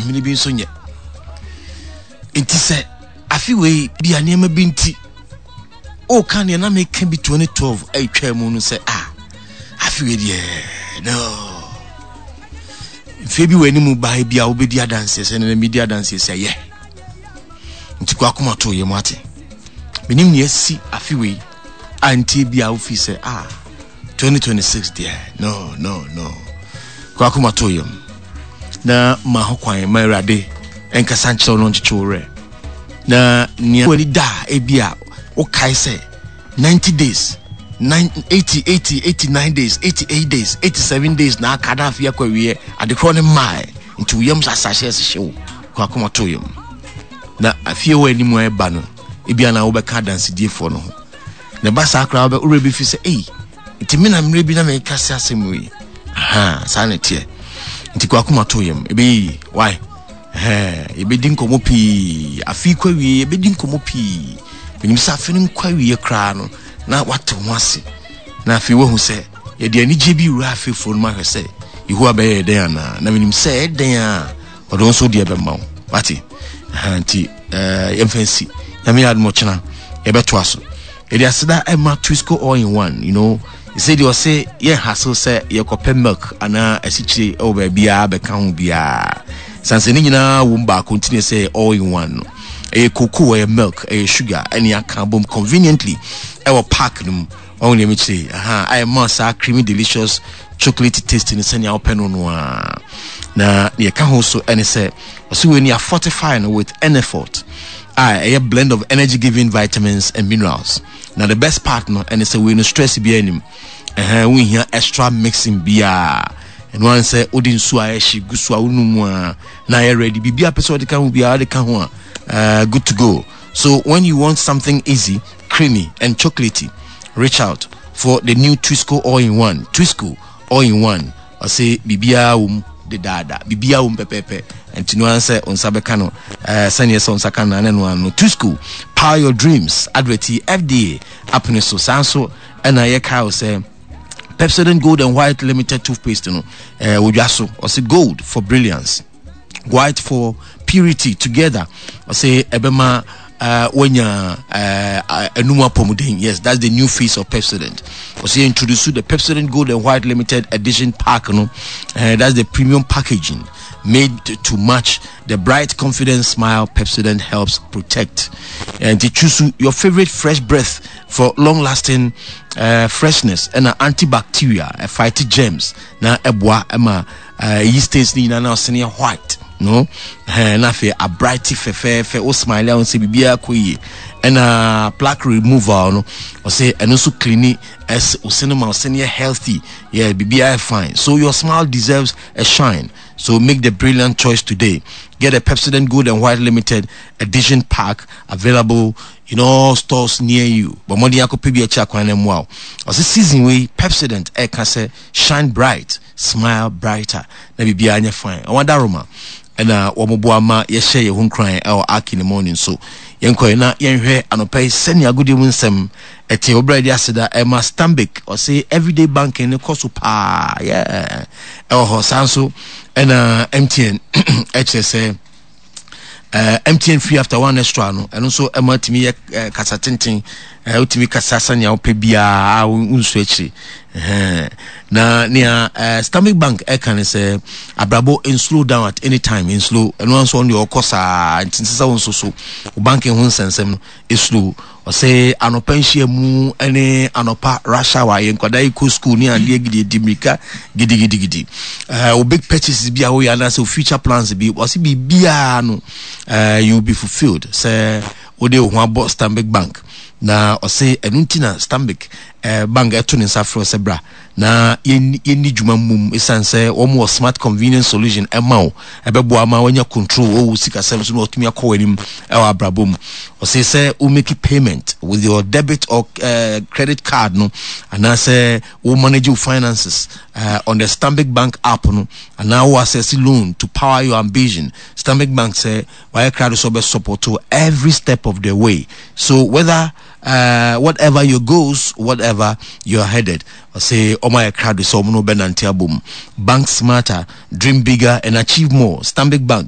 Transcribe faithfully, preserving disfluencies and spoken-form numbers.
Mmiri bi nso nyɛ. Nti sɛ afe wei bi a nneɛma bi nti ɔka nea na meka bi twenty twelve ɛtwa mu no sɛ ah, afe wei deɛ no, mfeɛ bi wɔ anim baa bi a wobɛdi adanseɛ sɛ nana medi adanseɛ sɛ yɛ. Nti kɔ akoma to yɛ mu ate. Menim nea asi afe wei a ntie bi a wofi sɛ ah, twenty twenty-six deɛ, no no no. Kɔ akoma to yɛ mu na ma ho kwan ma Awurade ɛnkasa nkyerɛ wo no, nkyekye wo werɛ na nea w'ani da a ebi a wokae sɛ ninety days, nine, eighty, eighty, eighty-nine days, eighty-eight days, eighty-seven days na aka na afei akɔ awie adekorɔ ne mmaa. Nti wo yam asase ɛhyehyɛ wo. Kɔ akoma to yam na afie wɔ anim a ɛba no, ebi ana wobɛka adansediefoɔ no ho na ɛba saa koraa wobɛ wura bi fi sɛ ei, nti me na mmerɛ bi na meka sɛ asɛm yi aha saa na ɛteɛ. Nti kɔ akoma to yam, ɛbɛyɛ yie. Why? Yɛbɛdi nkɔmmɔ pii afei kɔ awie, yɛbɛdi nkɔmmɔ pii. Menim sɛ afe no nkɔ awie koraa no na wate ho ase na afei woahu sɛ yɛde anigye bi wura afefoɔ no mu ahwɛ sɛ Yehowa bɛyɛ dɛn anaa, na menim sɛ ɛdɛn a ɔde wo nso deɛ bɛma wo wate. Nti yɛmfa nsi. Nyame yɛ adom, ɔkyena yɛbɛtoa so. Yɛde aseda ɛma Twisco all in one. you know sɛ deɛ ɔse yɛn hassle sɛ yɛkɔpɛ milk anaa asikyire ɛwɔ baabiara bɛka ho biara sanse ne nyinaa wɔ mu baako. Nti ne sɛ all in one no, ɛyɛ cocoa, ɛyɛ milk, ɛyɛ sugar, ɛne aka bom conveniently ɛwɔ pack no mu. Ɔho deɛ mekyerɛ aha ayɛ ma saa creamy delicious chocolate taste no sɛnea wopɛ no no a. Na deɛ ɛka ho so ɛne sɛ ɔsɛ wei ni a fortify no with Enefort a ɛyɛ blend of energy giving vitamins and minerals. Na the best part no ɛne sɛ wei no, stress biara anim ɛhɛn, wohia extra mixing biara. Ɛno ara sɛ wode nsuo a ɛhye gu so a wonum mu a na ayɛ ready. Biribi a pɛ sɛ wode ka ho biara, wode ka ho a uh, good to go. So when you want something easy, creamy and chocolatey, reach out for the new Twisco all in one. Twisco all in one, ɔsɛ biribiara wɔ mu dedaada, biribiara wɔ mu pɛpɛɛpɛ. Nti no ara sɛ nsa bɛka no ɛɛ sɛneɛ sɛ nsa ka no ne no ano. Twisco, power your dreams. Advert yi, F D A apene so. Saa nso ɛna yɛka wo sɛ Pepsodent Gold and White Limited toothpaste no ɛɛ wodwa so. Ɔsɛ gold for brilliance, white for purity. Together, ɔsɛ ɛbɛma uh, wanya uh, enum apɔmuden. Yes, that's the new face of Pepsodent. Ɔsɛ introduce the Pepsodent Gold and White Limited Edition pack no. uh, that's the premium packaging made to, to match the bright, confident smile Pepsodent helps protect. And to choose your favorite fresh breath for long lasting uh, freshness and antibacterial, uh, fight germs na ɛboa ɛma uh, yi stains ni nyinaa na ɔsene yɛ white no ɛɛ na afei abright fɛfɛɛfɛ. O smile a wɔn sɛ biribiara kɔ yie. Ɛna plaque removal no, ɔsɛ ɛno nso clean ɛs ɔsene ma ɔsene yɛ healthy, yeah, biribiara yɛ fine. So your smile deserves a shine, so make the brilliant choice today. Get a Pepsodent Gold and White Limited Edition pack available in all stores near you. But mo de akɔpɛ bi akyi akwan no mu a ɔsɛ season wei Pepsodent ɛka sɛ shine bright, smile brighter na biribiara nyɛ fine. Ɔwɔ daroma ɛna wɔn boa ma yɛhyɛ yɛn ho nkran ɛwɔ Aki ne morning so. Yɛnkɔ na yɛnhwɛ anɔpɛ yi sɛnea agodie mu nsɛm ɛte. Ɔbrɛ de aseda ɛma Stanbic. Ɔsɛ everyday banking ne kɔ so paa, yeah, ɛwɔ hɔ. Saa nso ɛna M T N ɛkyerɛ sɛ uh, M T N free after one extra no, ɛno nso ɛma tumi yɛ uh, kasa tenten. uh, wotumi kasa sɛnea wopɛ biara a wonsu akyiri. uh, na nea uh, Stanbic Bank ɛka ne sɛ abrabɔ nslow down at any time, nslow. Ɛno nso ɔno deɛ ɔkɔ saa nti nsɛ sɛ wo nso so wo banking ho nsɛnsɛm no slow. Ɔsɛ anɔpa nhyia mu ne anɔpa rush hour, yɛ nkwadaa yi kɔ school ne adeɛ gidi di mirika gidigidigidi. uh, wo big purchases bi a woyɛ anaasɛ wo future plans bi, ɔsɛ biribiara no uh, you will be fulfilled sɛ wode wo ho abɔ Stanbic Bank. Na ɔsɛ ɛno nti na Stanbic uh, Bank ɛto ne nsa frɛ sɛ bra na yɛnni dwuma mmom, ɛsiane sɛ wɔn wɔ smart convenience solution ɛma wo ɛbɛboa ma wɔanya control wɔwɔ sikasɛm so na wɔtumi akɔ wɔn anim ɛwɔ abrabɔ mu. Ɔsɛ sɛ wo make payment with your debit or uh, credit card no, anaasɛ wo manage your finances uh, on the Stanbic Bank app no, anaa wo access loan to power your ambition, Stanbic Bank sɛ wayɛ krado sɛ ɔbɛ support every step of the way. So whether uh, whatever your goals, whatever you're headed, ɔsɛ ɔmo ayɛ krado sɛ ɔmo no bɛnante abom. Bank smarter, dream bigger and achieve more. Stanbic Bank.